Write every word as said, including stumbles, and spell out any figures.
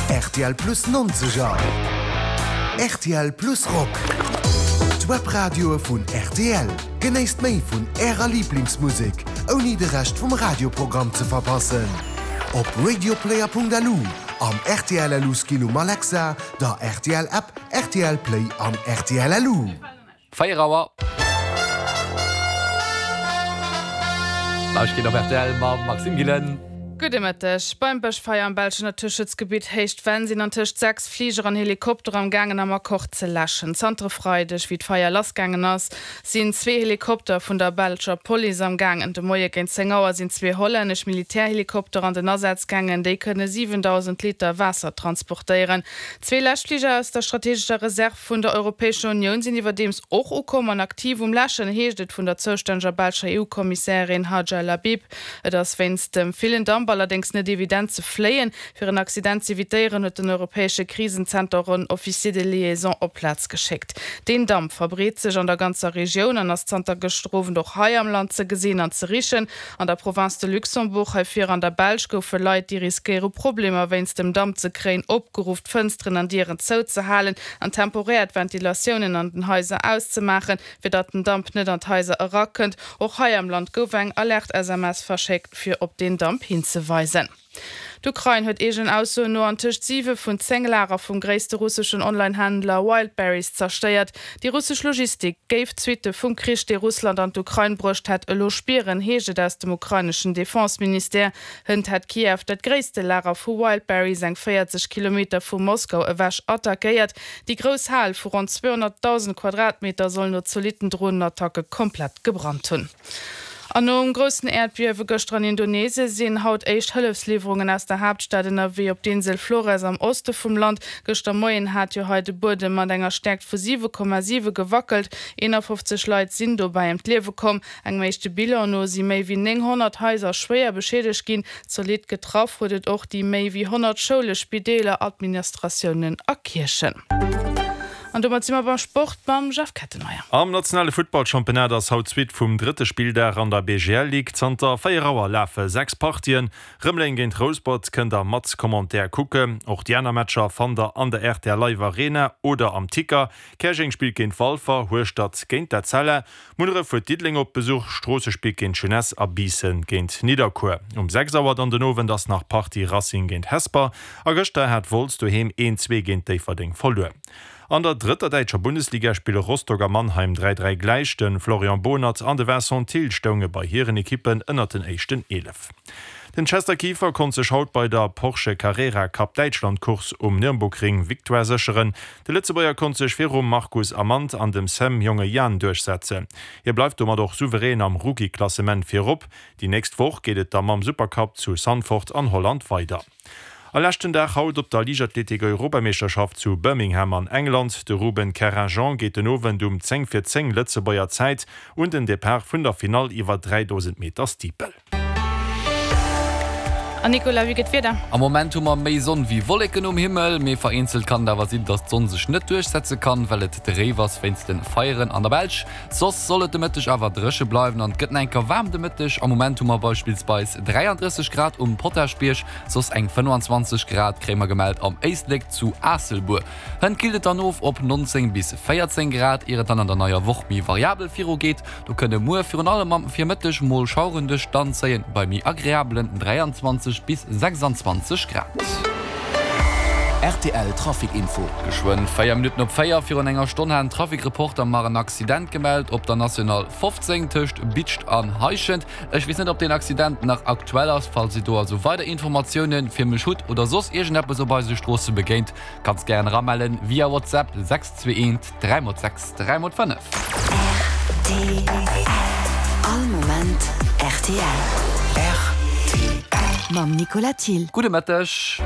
R T L Plus nonzeger, R T L Plus Rock. D'Webradioe vun R T L. Genéisst méi vun Ärer Liblingsmusek, ouni de Rescht vum Radioprogramm ze verpassen. Op radioplayer Punkt L U, am R T L L U Skill um Alexa, der R T L App, R T L Play an R T L L U. Véier Auer. Neiegkeeten op R T L mam Maxime Gillen. Gudde Mëtteg. Beim Bëschfeier am belschen Naturschutzgebitt Héicht Venn sinn an tëscht sechs Fliger an Helikopter am gaangen am Akkord ze läschen. Zanter e Freideg, wéi d'Feier lassgaangen ass, sinn zwee Helikopter vun der belscher Police am gaangen. De Moie géint zéng Auer sinn zwee hollännesch Militärhelikopter an den Asaz gaangen, déi kënne siwendausend Liter Waasser transportéieren. Zwee Läschfliger aus der strategescher Reserv vun der Europäescher Unioun sinn iwwerdeems och ukomm an aktiv um Läschen, heescht et vun der zoustänneger belscher E U-Kommissärin Hadja Lahbib. Et ass wéinst dem villen Damp allerdéngs net evident ze fléien. Fir en Accident z'evitéieren, huet den europäesche Krisenzenter en Officier de liaison op d'Plaz geschéckt. Den Damp verbreet sech an der ganzer Regioun an ass zanter gëschter Owend och hei am Land ze gesinn an ze richen. An der Province de Luxembourg, hei vir an der Belsch, goufe Leit, déi riskéiere Problemer wéinst dem Damp ze kréien, opgeruff, d'Fënsteren an Dieren zouzehalen an temporär d'Ventilatiounen an den Haiser auszemaachen, fir datt den Damp net an d'Haiser erakënnt. Och hei am Land gouf eng Alert-S M S verschéckt, fir op den Damp hinzeweisen. D'Ukrain huet eegenen Aussoen no an tëscht siwe vun zéng Lager vum gréisste russeschen Online-Händler Wildberries zerstéiert. Déi russesch Logistik géif d'Suitte vum Krich, dee Russland an d'Ukrain bruecht hätt, elo spieren, heescht et aus dem ukraineschen Defense-Ministère. Hënt hätt Kiew dat gréisste Lager vu Wildberries eng véierzeg Kilometer vu Moskau ewech attackéiert. Déi grouss Hal vu ronn zweehonnertdausend Quadratmeter soll no zolitten Dronenattacke komplett gebrannt hunn. An nom groussen Äerdbiewe gëschter an Indonesie sinn haut éischt Hëllefsliwwerungen aus der Haaptstad ënnerwee op d'Insel Flores am Oste vum Land. Gëschter Moien hat jo hei de Buedem mat enger Stäerkt vu siwe Komma siwe gewackelt. eenafofzeg Leit sinn dobäi ëm d'Liewe komm. Engem éischte Bilan no si méi wéi nénghonnert Haiser schwéier beschiedegt ginn. Zolidd getraff huet et och déi méi wéi honnert Schoule, Spideeler, Administratiounen a Kierchen. An domat si mer beim Sport mam Jeff Kettenmeyer. Am nationale Futtballchampionnat ass haut d'Suite vum drëtte Spilldag an der B G L Ligue. Zanter véier Auer lafe sechs Partien. Rëmeleng géint Rouspert kënnt der mat Commentaire kucken. Och déi aner Matcher fannt der an der R T L Live Arena oder am Ticker. Käerjeng spillt géint Walfer, Hueschtert géint d'Etzella. Munneref huet Diddeleng op Besuch, Stroosse spillt géint Jeunesse a Biissen géint Nidderkuer. Um sechs Auer dann den Owend ass nach Partie Racing géint Hesper. A gëschter hat Wolz doheem een zwee géint Déifferdeng verluer. An der drëtter däitscher Bundesliga spille Rostock a Mannheim dräi dräi gläich. De Florian Bohnert an de Vincent Thill stounge bei hiren Ekippen ënnert den éischten eelef. Den Chester Kieffer konnt sech haut bei der Porsche Carrera Cup Däitschland Course um Nürburgring Victoire sécheren. De Lëtzebuerger konnt sech virum Marcus Amand an dem Sam Jongejan duerchsetzen. Hie bleift domat och souverän am Rookie-Klassement virop. Déi nächst Woch geet et da mam Supercup zu Zandvoort an Holland weider. A leschten Dag haut op der Liichtathletik Europameeschterschaft zu Birmingham an England. De Ruben Kerrajean geet den Owend um zéng vir zéng Lëtzebuerger Zäit un den Depart vun der Finall iwwer dräidausend Meter Steeple. An Nicolas, wéi gëtt d'Wieder? Am Moment hu mer méi Sonn wéi Wolleken um Himmel, mee vereenzelt kann et awer sinn, dass d'Sonn sech net duerchsetze kann, well et dréif ass wéinst de Feieren an der Belsch. Soss soll et de Mëtteg awer dréche bleiwen an et gëtt nach eng Kéier waarm de Mëtteg. Am Moment hu mer beispillsweis dräiandrësseg Grad um Potaschbierg, soss eng fënnfanzwanzeg Grad kréie mer gemellt am Éislek zu Aasselbuer. Hënt killt et dann of op nonzéng bis véierzéng Grad, ier et dann an der neier Woch méi variabel virugeet. Do kënne muer virun allem am Virmëtteg mol Schaueren duerch d'Land zéien, bei méi agreabelen dräianzwanzeg bis sechsanzwanzeg Grad. R T L Trafic Info. Geschwënn véier Minutten op véier. Virun enger Stonn hat en Trafic-Reporter mar en Accident gemellt op der National fofzéng tëscht Bidscht an Heischent. Ech weess net, ob deen Accident nach aktuell ass. Falls Dir do also weider Informatioune fir mech hutt oder soss iergendeppes op eise Stroosse begéint, kanns gären eramellen via WhatsApp sechs zwee eent dräi mol sechs dräi mol fënnef. R T L. All Moment R T L. R T L. Mam Nicolas Thill. Gudde Mëtteg.